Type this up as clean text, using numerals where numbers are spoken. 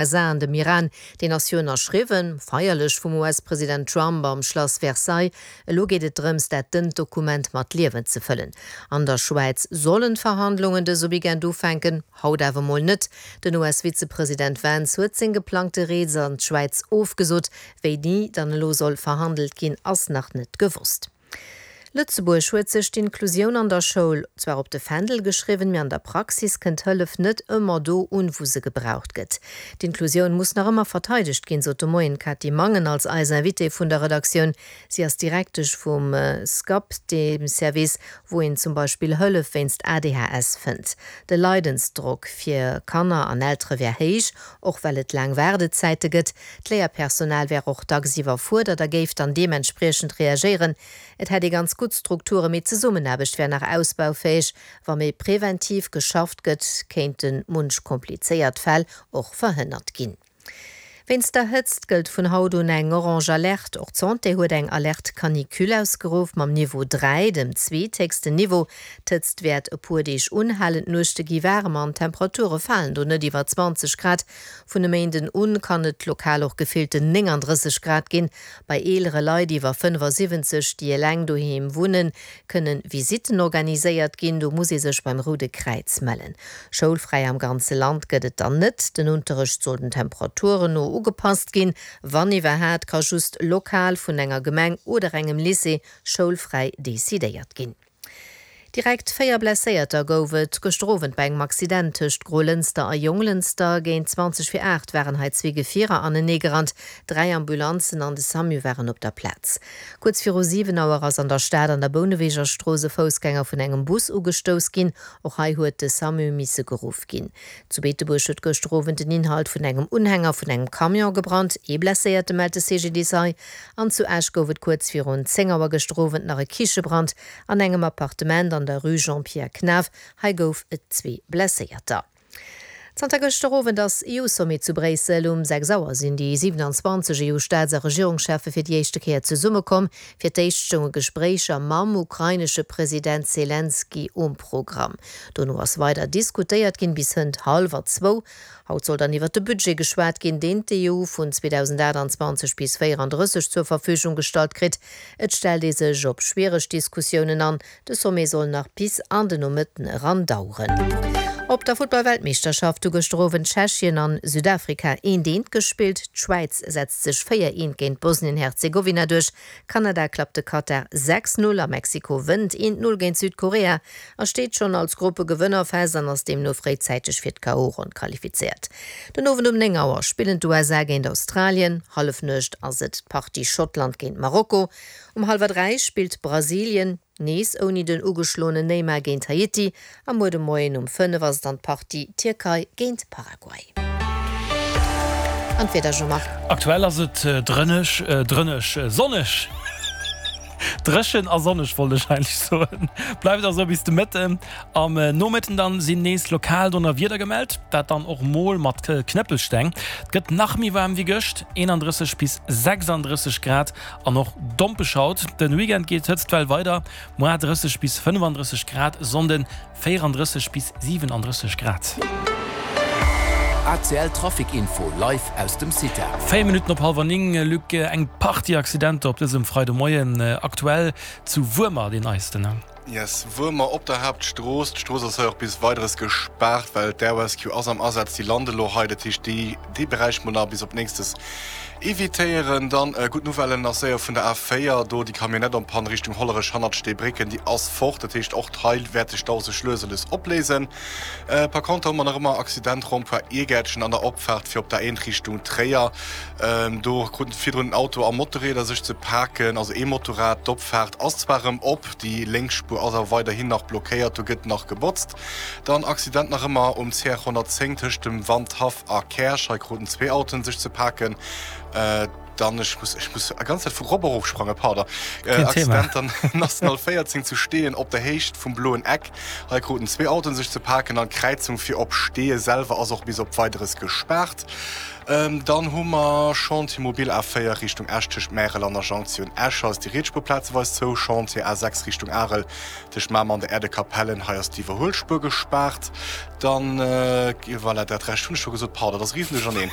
USA an dem Iran, deen ass jo ënnerschriwwen, feierlech vum US-President Trump am Schlass Versailles. Elo geet et drëms, dat dënnt Dokument mat Liewen ze fëllen. An der Schwäiz sollen d'Verhandlungen dëse Weekend ufänken, haut awer mol net. Den US-Vizepresident Vance huet seng geplangte Rees an d'Schwäiz ofgesot. Wéini dann elo soll verhandelt ginn, ass nach net gewosst. Lëtzebuerg huet sech d'Inklusioun an der Schoul zwar op de Fändel geschriwwen, mee an der Praxis kënnt d'Hëllef net ëmmer do un, wou se gebraucht gëtt. D'Inklusioun muss nach ëmmer verteidegt ginn, sot de Moien d'Cathy Mangen als eis Invitée vun der Redaktioun. Si ass Direktesch vum SCAP, deem Service, wou een zum Beispill Hëllef wéinst ADHS fënnt. De Leidensdrock fir Kanner an Eltere wär héich, och well et laang Waardezäite gëtt. D'Léierpersonal wär och dacks iwwerfuerdert a géif dann deementspriechend reagéieren. Et hätt ee ganz gutt Strukturen, mee d'Zesummenaarbecht wär nach ausbaufäeg. Wa méi preventiv geschafft gëtt, kéinte munch komplizéiert Fäll och verhënnert ginn. Wéinst der Hëtzt gëllt vun haut un eng orange Alerte. Och d'Santé huet eng Alerte canicule ausgeruff, mam Niveau 3, dem zweethéchsten Niveau. D'Hëtzt wäert e puer Deeg unhalen, d'Nuechte gi waarem an d'Temperature falen do net iwwer 20 Grad. Vun e Méinden un kann et lokal och gefillten 39 Grad ginn. Bei eelere Leit iwwer 75, déi eleng doheem wunnen, kënne Visitten organiséiert ginn. Do muss ee sech beim Roude Kräiz mellen. Schoulfräi am ganze Land gëtt et dann net. Den Unterrecht soll den Temperaturen no ugepasst ginn. Wann iwwerhaat, ka just lokal vun enger Gemeng oder engem Lycée schoulfräi decidéiert ginn. Direkt 4 Blesséierter gouf et gëschter Owend bei engem Accident tëscht Grolënster a Jonglënster. Géint 20 vir 8 waren hei zwee Gefierer aneneegerannt. Dräi Ambulanzen an de Samu waren op der Plaz. Kuerz viru 7 Auer ass an der Stad an der Bouneweger Strooss e Foussgänger vun engem Bus ugestouss ginn. Och hei huet de Samu misse geruff ginn. Zu Beetebuerg huet gëschter Owend den Inhalt vun engem Unhänger vun engem Camion gebrannt. Ee Blesséierte mellt de CGDIS hei. An zu Esch gouf et kuerz virun 10 Auer gëschter Owend nach e Kichebrand. An engem Appartement an der Rue Jean-Pierre Knaff. Hei gouf et zwee Blesséierter. Zanter gëschter Owend ass EU-Sommet zu Bréissel. Um 6 Auer sinn déi 27 EU-Staats a Regierungscheffe fir déi éischte Kéier zesummekomm. Fir d'éischt stounge Gespréicher mam ukrainesche President Selenskyj um Programm. Dono ass weider diskutéiert ginn, bis hënt hallwer zwou. Haut soll dann iwwert de Budget geschwat ginn, deen d'EU vun 2028 bis 34 zur Verfügung gestallt kritt. Et stellt ee sech op schwiereg Diskussiounen an. De Sommet soll nach bis an de Nomëtten eran daueren. Op der Futtball-Weltmeeschterschaft hu gëschter Owend Tschechien an Südafrika eent eent gespillt. D'Schwäiz setzt sech 4 eent géint Bosnien-Herzegowina duerch. Kanada klappt de Katar 6, 0 a Mexiko wënnt 1, 0 géint Südkorea a steet schonn als Gruppegewënner fest an ass deemno fréizäiteg fir d'KO-Ronn qualifizéiert. Den Owend um 9 Auer spillen d'USA géint Australien, Hallefnuecht ass et d'Partie Schottland géint Marokko. Um hallwer 3 spillt Brasilien, nees ouni den ugeschloenen Neymar, géint Haiti a muer de Moien um 5 ass et dann d'Partie Tierkei géint Paraguay. An d'Wieder, Jean-Marc? Aktuell ass et drëneg, drëneg, sonneg. Dréchen a sonneg wollt ech eigentlech soen. Bleift och esou bis de Mëtten. Am Nomëtten dann sinn nees lokal Donnerwieder gemellt, dat dann och mol mat Knëppelsteng. Et gëtt nach méi waarm wéi gëscht, 31 bis 36 Grad an och dompeg haut. Den Weekend geet d'Hëtztwell weider, moar 30 bis 35 Grad, Sonnden 34 bis 37 Grad. ACL Trafic Info live aus dem CITA. 4 Minutten op hallwer 9, Luc, eng Partie Accidenter op dësem Freidemoien, aktuell zu Wuermer deen neisten. Yes, Wuermer op der Haaptstrooss. D'Strooss ass hei och bis Weideres gespaart, well d'Air Rescue ass am Asaz. Déi lande lo hei, dat heescht déi dee Beräich mol nach bis op nächstes evitéieren. Dann gutt Nouvellen nach séier vun der A4, do déi Camionnette en panne Richtung Hollerech hannert Steebrécken, déi ass fort. Dat heescht och hei wäert de Stau sech lues a lues opléisen. Par contre hu mer nach ëmmer Accident Rond-point Iergäertchen an der Opfaart fir op der A1 Richtung Tréier. Do kruten virdrun en Auto a Motorrieder sech ze paken, also ee Motorrad. D'Opfaart ass zwar erëm op, déi lénks Spuer ass awer weiderhin nach blockéiert, do gëtt nach gebotzt. Dann Accident nach ëmmer um CR 110 tëscht dem Wandhaff a Käerch. Hei kruten zwee Autoen sech ze paken. Dann, ech muss, ech muss a ganz Zäit vu Rob erofsprangen, pardon. Keen Thema. Accident an National 14 zu Steeën op der Héicht vum Bloen Eck. Hei kruten zwee Autoen sech ze paken an d'Kräizung fir op Steeë selwer ass och bis op Weideres gespaart. Dann hu mer Chantier Mobil A4 Richtung Esch tëscht Märel an der Jonktioun Esch. Hei ass déi riets Spuer plazeweis zou. Chantier A6 Richtung Arel Tëscht Mamer an der Erdekapellen, hei ass d'Iwwerhuelspuer gespaart. Dann, voilà, dat Rescht hunn ech scho gesot. Pardon, dat ass e Riesenduercherneen.